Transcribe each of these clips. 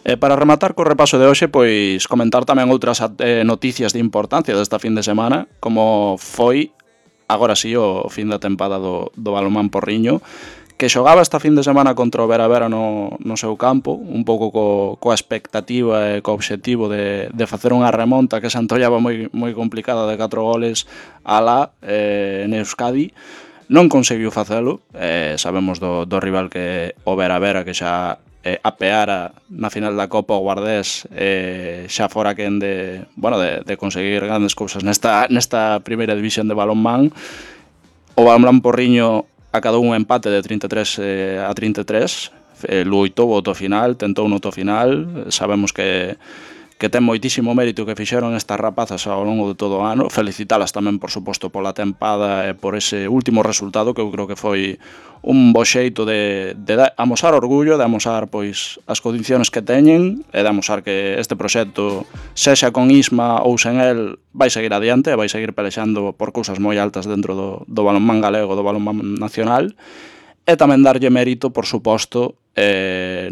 Para rematar co repaso de hoxe, pois comentar tamén outras noticias de importancia desta fin de semana, como foi, agora sí, o fin da tempada do Balonmán Porriño, que xogaba esta fin de semana contra o Vera Vera no seu campo, un pouco coa expectativa e co obxectivo de facer unha remonta que se antollaba moi complicada de 4 goles alá en Euskadi. Non conseguiu facelo, sabemos do rival que o Vera Vera, que xa apeara na final da Copa o Guardés, xa fora quen de conseguir grandes cousas nesta primeira división de balonmán. O Balonmán Porriño acadou un empate de 33 a 33, loitou o final, tentou no final. Sabemos que ten moitísimo mérito que fixeron estas rapazas ao longo de todo o ano. Felicitalas tamén, por suposto, pola tempada e por ese último resultado, que eu creo que foi un bo xeito de amosar orgullo, de amosar pois as condicións que teñen e de amosar que este proxecto, sexa con Isma ou sen el, vai seguir adiante e vai seguir pelexando por cousas moi altas dentro do balonmán galego, do balonmán nacional. E tamén darlle mérito, por suposto,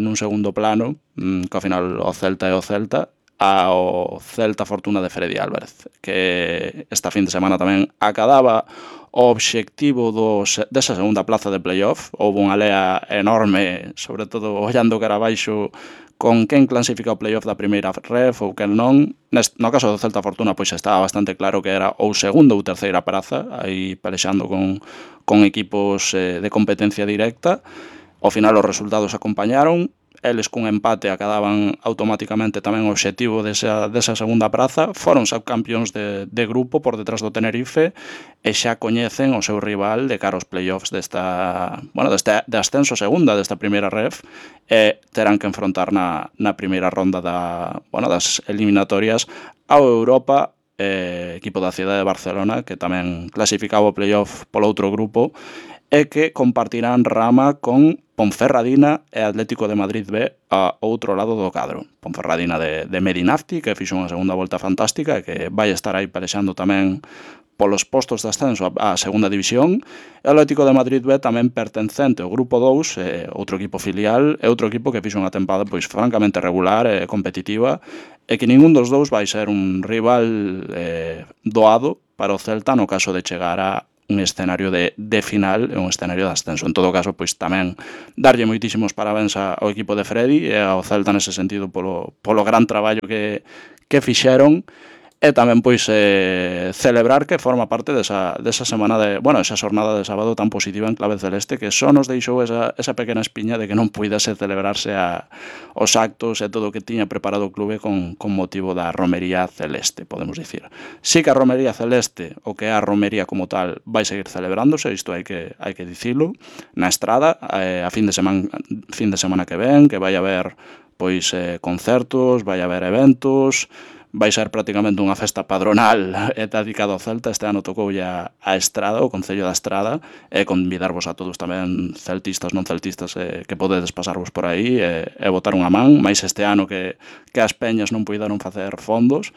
nun segundo plano, que ao final o Celta é o Celta, ao Celta Fortuna de Freddy Álvarez, que esta fin de semana tamén acadaba o obxectivo desa segunda plaza de playoff. Houve unha lea enorme, sobre todo ollando cara abaixo, con quen clasifica o playoff da primeira ref ou quen non. No caso do Celta Fortuna, pois estaba bastante claro que era ou segunda ou terceira praza, aí pelexando con equipos de competencia directa. Ao final os resultados acompañaron. Eles cun empate acadaban automáticamente tamén o obxectivo desa segunda praza. Foron subcampións de grupo por detrás do Tenerife e xa coñecen o seu rival de cara aos playoffs de ascenso segunda desta primeira ref, e terán que enfrontar na primeira ronda das eliminatorias ao Europa, equipo da cidade de Barcelona, que tamén clasificaba o playoff polo outro grupo, e que compartirán rama con Ponferradina e Atlético de Madrid B a outro lado do cadro. Ponferradina de Medinafti, que fixo unha segunda volta fantástica e que vai estar aí pelexando tamén polos postos de ascenso á segunda división. E o Atlético de Madrid B tamén pertencente ao grupo 2, outro equipo filial, e outro equipo que fixo unha tempada pois francamente regular e competitiva, e que ningún dos dous vai ser un rival doado para o Celta no caso de chegar a un escenario de final e un escenario de ascenso. En todo caso, pois tamén darlle moitísimos parabéns ao equipo de Freddy e ao Celta nese sentido polo gran traballo que fixeron, e tamén pois celebrar que forma parte desa semana esa xornada de sábado tan positiva en clave celeste, que só nos deixou esa pequena espiña de que non puidase celebrarse os actos e todo o que tiña preparado o clube con motivo da romería celeste, podemos dicir. Si que a romería celeste, o que é a romería como tal, vai seguir celebrándose, isto hai que dicilo, na Estrada, a fin de semana que ven, que vai haber pois concertos, vai haber eventos. Vai ser prácticamente unha festa padronal dedicada ao Celta. Este ano tocou a Estrada, o Concello da Estrada, e convidarvos a todos tamén, celtistas, non celtistas, que podedes pasarvos por aí e botar unha man, máis este ano que as peñas non puideron facer fondos.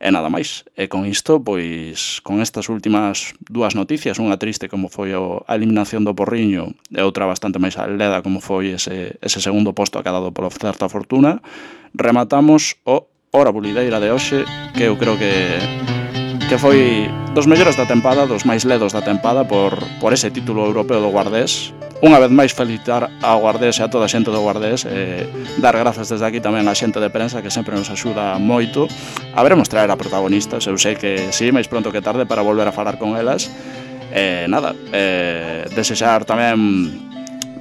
E nada máis. E con isto, pois, con estas últimas dúas noticias, unha triste como foi a eliminación do Porriño e outra bastante máis leda como foi ese segundo posto acadado polo Celta Fortuna, rematamos o Hora Bulideira de hoxe, que eu creo que foi dos mellores da tempada, dos máis ledos da tempada por ese título europeo do Guardés. Unha vez máis felicitar ao Guardés e a toda a xente do Guardés, dar grazas desde aquí tamén á xente de prensa que sempre nos axuda moito. Haberemos traer a protagonistas, eu sei que sí, máis pronto que tarde, para volver a falar con elas. Desexar tamén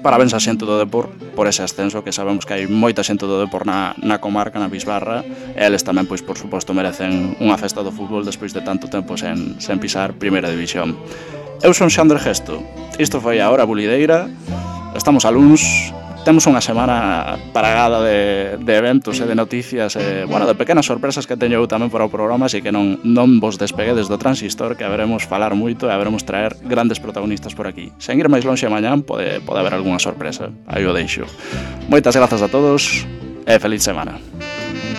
parabéns á xente do Depor por ese ascenso, que sabemos que hai moita xente do Depor na comarca, na Bisbarra, e eles tamén, pois, por suposto, merecen unha festa do fútbol despois de tanto tempo sen pisar primeira división. Eu son Xandre Gesto, isto foi a Hora Bulideira, estamos a luns, temos unha semana paragada de eventos e de noticias, de pequenas sorpresas que teño eu tamén para o programa, así que non vos despeguedes do transistor, que haberemos falar moito e haberemos traer grandes protagonistas por aquí. Sen ir máis lonxe mañán, pode haber algunha sorpresa, aí o deixo. Moitas grazas a todos e feliz semana.